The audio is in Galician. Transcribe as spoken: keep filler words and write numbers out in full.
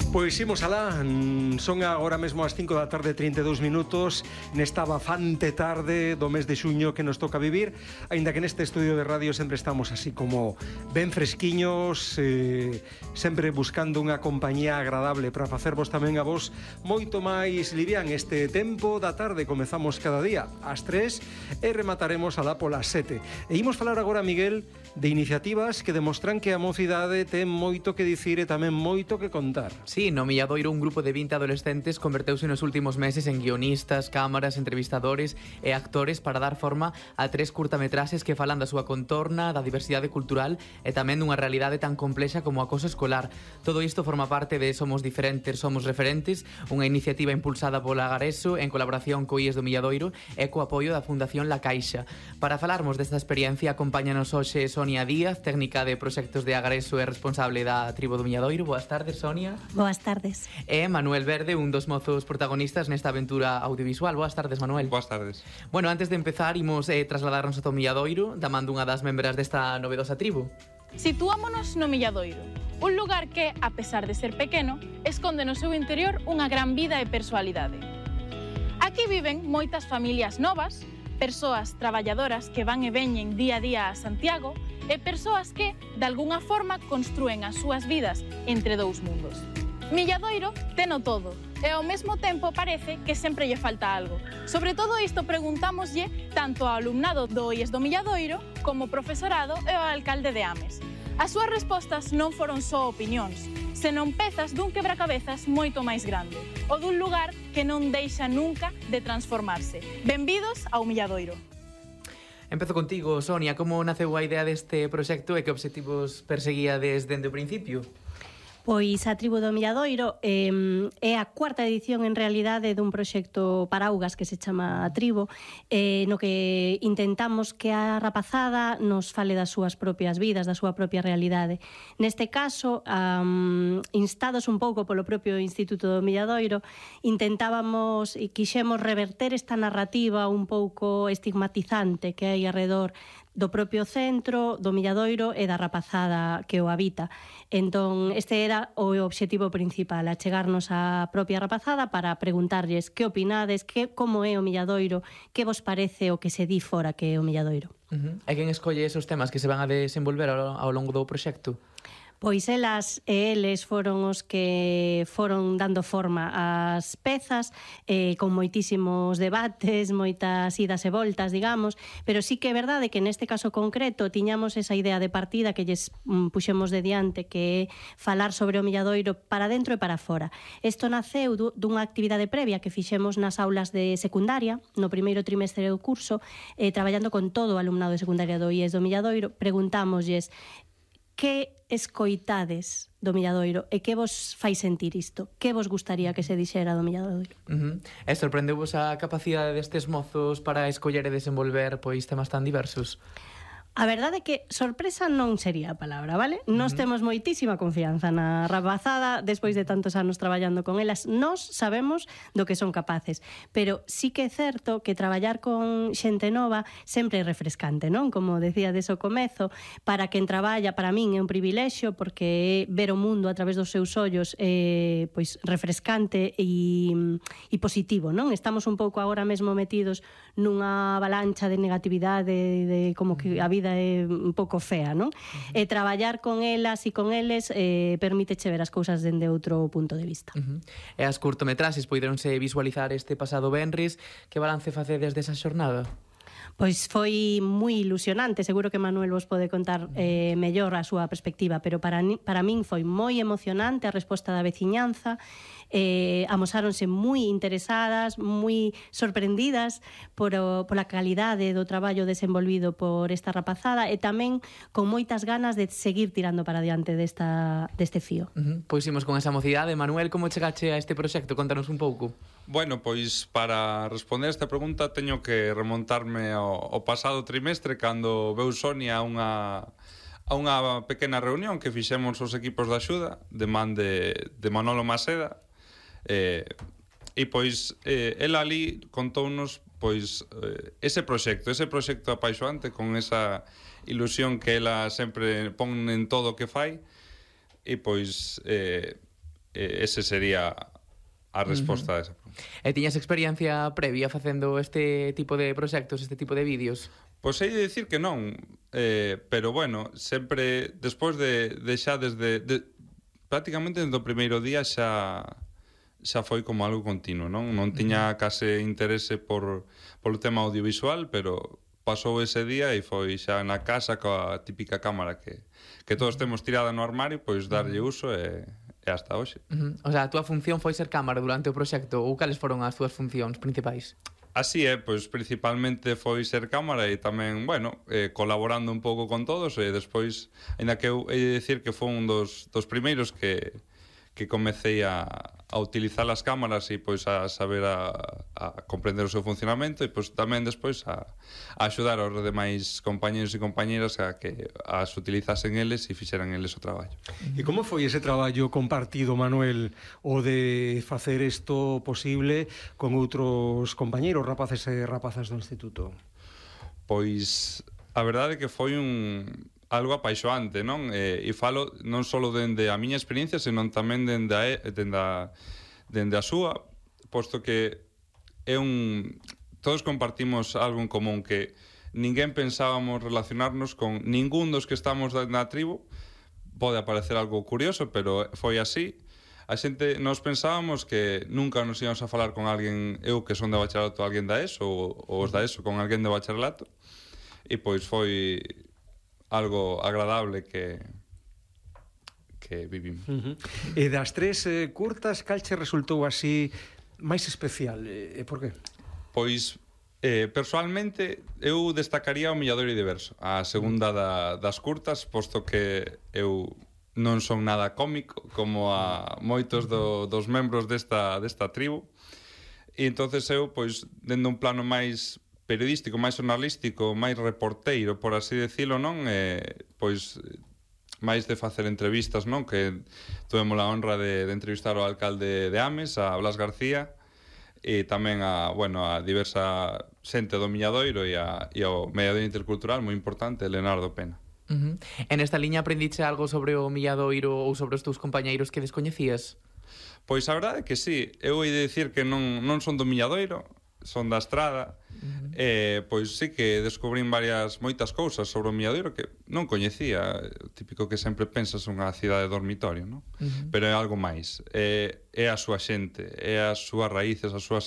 Pois imos alá, son agora mesmo as cinco da tarde, trinta e dous minutos, nesta bafante tarde do mes de xuño que nos toca vivir, aínda que neste estudio de radio sempre estamos así como ben fresquiños, eh, sempre buscando unha compañía agradable para facervos tamén a vos moito máis livian este tempo da tarde. Comezamos cada día ás tres e remataremos alá polas sete. E imos falar agora, Miguel, de iniciativas que demostran que a mocidade ten moito que dicir e tamén moito que contar. Sí, no Milladoiro un grupo de vinte adolescentes converteuse nos últimos meses en guionistas, cámaras, entrevistadores e actores para dar forma a tres curtametraxes que falan da súa contorna, da diversidade cultural e tamén dunha realidade tan complexa como o acoso escolar. Todo isto forma parte de Somos Diferentes, Somos Referentes, unha iniciativa impulsada pola Agareso en colaboración co I E S do Milladoiro e co apoio da Fundación La Caixa. Para falarmos desta experiencia, acompáñanos hoxe Sonia Díaz, técnica de proxectos de Agareso e responsable da tribo do Milladoiro. Boas tardes, Sonia. Boas tardes. E Manuel Verde, un dos mozos protagonistas nesta aventura audiovisual. Boas tardes, Manuel. Boas tardes. Bueno, antes de empezar, imos eh, trasladarnos ata o Milladoiro, da man dunha das membras desta novedosa tribo. Situámonos no Milladoiro, un lugar que, a pesar de ser pequeno, esconde no seu interior unha gran vida e persoalidade. Aquí viven moitas familias novas, persoas traballadoras que van e veñen día a día a Santiago e persoas que, de algunha forma, construen as súas vidas entre dous mundos. Milladoiro teno todo e ao mesmo tempo parece que sempre lle falta algo. Sobre todo isto preguntámoslle tanto ao alumnado do I E S do Milladoiro como ao profesorado e ao alcalde de Ames. As súas respostas non foron só opinións, senón pezas dun quebracabezas moito máis grande, o dun lugar que non deixa nunca de transformarse. Benvidos ao Milladoiro. Empezo contigo, Sonia. Como naceu a idea deste proxecto e que obxectivos perseguía desde o principio? Pois a tribo do Milladoiro eh, é a cuarta edición en realidade dun proxecto para augas que se chama a tribo, eh, no que intentamos que a rapazada nos fale das súas propias vidas, da súa propia realidade. Neste caso, um, instados un pouco polo propio Instituto do Milladoiro, intentábamos e quixemos reverter esta narrativa un pouco estigmatizante que hai alrededor do propio centro, do Milladoiro e da rapazada que o habita. Entón, este era o obxectivo principal, achegarnos á propia rapazada para preguntarlles que opinades, que, como é o Milladoiro, que vos parece o que se di fora que é o Milladoiro. Uh-huh. E quen escolle esos temas que se van a desenvolver ao, ao longo do proxecto? Pois elas e eles foron os que foron dando forma ás pezas, eh, con moitísimos debates, moitas idas e voltas, digamos, pero sí que é verdade que neste caso concreto tiñamos esa idea de partida que lles mm, puxemos de diante, que é falar sobre o Milladoiro para dentro e para fora. Isto naceu dunha actividade previa que fixemos nas aulas de secundaria, no primeiro trimestre do curso, eh, traballando con todo o alumnado de secundaria do I E S do Milladoiro. Preguntámoslles que escoitades do Milladoiro e que vos fai sentir isto? Que vos gustaría que se dixera do Milladoiro? Uh-huh. E sorprendeu-vos a capacidade destes mozos para escoller e desenvolver pois temas tan diversos? A verdade é que sorpresa non sería a palabra, vale? Nos uh-huh. temos moitísima confianza na rapazada despois de tantos anos traballando con elas. Nos sabemos do que son capaces, pero sí que é certo que traballar con xente nova sempre é refrescante, non? Como decía deso comezo, para quen traballa, para min é un privilexio porque ver o mundo a través dos seus ollos é pois refrescante e, e positivo, non? Estamos un pouco agora mesmo metidos nunha avalancha de negatividade, de como que a vida é un pouco fea, non? Uh-huh. E traballar con elas e con eles eh, permíteche ver as cousas dende outro punto de vista. Uh-huh. E as curtometraxes poideronse visualizar este pasado venres. Que balance facedes desa xornada? Pois foi moi ilusionante, seguro que Manuel vos pode contar eh, mellor a súa perspectiva, pero para, para min foi moi emocionante a resposta da veciñanza. Eh, amosáronse moi interesadas, moi sorprendidas por o, pola calidade do traballo desenvolvido por esta rapazada e tamén con moitas ganas de seguir tirando para diante desta, deste fío. Uh-huh. Pois imos con esa mocidade. Manuel, como chegache a este proxecto? Contanos un pouco. Bueno, pois para responder esta pregunta teño que remontarme ao, ao pasado trimestre cando veu Sonia a unha a unha pequena reunión que fixemos os equipos de axuda de man de, de Manolo Maseda. Eh, e pois eh, ela ali contounos pois eh, ese proxecto, ese proxecto apaixoante con esa ilusión que ela sempre pon en todo o que fai e pois eh, eh, ese sería a resposta uh-huh. a esa pregunta. E tiñas experiencia previa facendo este tipo de proxectos, este tipo de vídeos? Pois hai de dicir que non, eh, pero bueno, sempre, despois de, de xa desde, de, prácticamente desde o primeiro día xa xa foi como algo continuo, non? Non tiña case interese por, por o tema audiovisual, pero pasou ese día e foi xa na casa coa típica cámara que, que todos temos tirada no armario, pois darlle uso e, e hasta hoxe. Uh-huh. O sea, a túa función foi ser cámara durante o proxecto ou cales foron as túas funcións principais? Así é, pois principalmente foi ser cámara e tamén, bueno, eh, colaborando un pouco con todos e despois, ainda que eu he de dicir que foi un dos, dos primeiros que, que comecei a, a utilizar as cámaras e pois a saber a, a comprender o seu funcionamento e pois tamén despois a, a axudar aos demais compañeros e compañeras a que as utilizasen eles e fixeran eles o traballo. E como foi ese traballo compartido, Manuel, o de facer isto posible con outros compañeros, rapaces e rapazas do instituto? Pois a verdade é que foi un algo apaixoante, non? E, e falo non só dende a miña experiencia, senón tamén dende a, dende a, dende a súa, posto que é un... Todos compartimos algo en común, que ninguén pensábamos relacionarnos con ningún dos que estamos na tribo. Pode aparecer algo curioso, pero foi así. A xente, nos pensábamos que nunca nos íamos a falar con alguén, eu que son de bacharelato, alguén da ESO, ou, ou os da ESO con alguén de bacharelato, e pois foi algo agradable que que vivimos. Uh-huh. E das tres eh, curtas, cal che resultou así máis especial? E por qué? Pois, eh, personalmente, eu destacaría o Milladoiro de Verso, a segunda da, das curtas, posto que eu non son nada cómico, como a moitos do, dos membros desta, desta tribu, e entonces eu, pois, dende un plano máis periodístico, máis xornalístico, máis reporteiro, por así decirlo, non? Eh, pois máis de facer entrevistas, non? Que tuvemos a honra de, de entrevistar ao alcalde de Ames, a Blas García, e tamén a, bueno, a diversa xente do Milladoiro e, a, e ao mediador intercultural moi importante, Leonardo Pena. Uh-huh. En esta liña aprendiche algo sobre o Milladoiro ou sobre os teus compañeiros que descoñecías? Pois a verdade é que sí, eu hei de dicir que non, non son do Milladoiro, son da Estrada. Uh-huh. eh, pois sí que descubrín varias moitas cousas sobre o Milladoiro que non coñecía, o típico que sempre pensas unha cidade dormitorio, non? Uh-huh. Pero é algo máis, é, é a súa xente, é as súas raíces, as súas